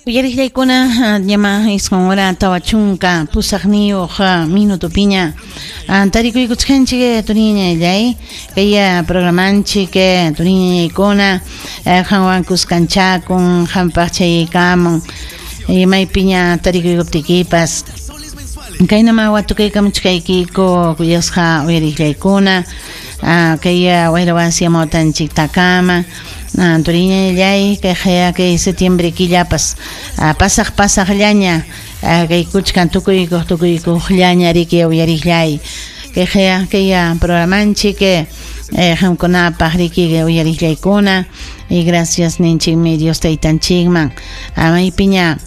Uyariqllaykuna ñama 9 hora 48 minutopiña tarikuykuchkanchik turiñallay kay programanchik turiñañaykuna qanwan kuskanchakun qampaq chayaykamun maypiña tarikuykuptikipas kaynama watukaykamuchkaykiku kuyasqa uyariqllaykuna kay wayra wasi amawtanchiktakama turiñallay kay qaya kay septiembre killapas pasaq pasaqllaña kay kuchkan tukuykuq tukuykuqllaña riki uyariqllay kay qaya kay programanchik qamkunapaq riki uyariqllaykuna y gracias ninchikmi Dios taytanchikman maypiña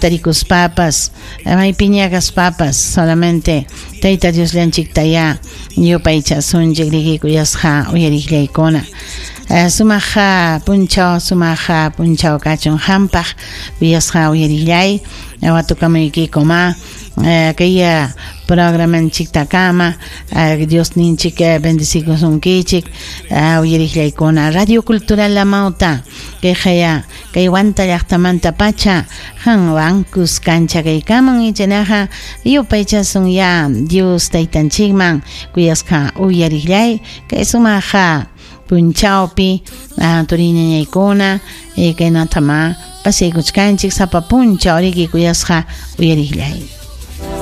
tarikuspapas maypiña kaspapas solamente Tayta Diosllanchiktayá yupaychasunchik riki kuyasqa uyariqllaykuna sumaq punchaw sumaq punchaw kachun qampaq kuyasqa uyariqllay watukamuykikuma kay programanchiktakama Diosninchik bendecikusunkichik uyariqllaykuna Radio Cultural Amauta kay qaya kay Huanta llaqtamanta pacha qanwan kuskancha kaykaman ichanaqa yupaychasun ya Dios taytanchikman kuyasqa uyariqllay kay sumaqa punchawpi turiñañaykuna kaynatama pasaykuchkanchik sapa punchaw riki kuyasqa uyariqllay.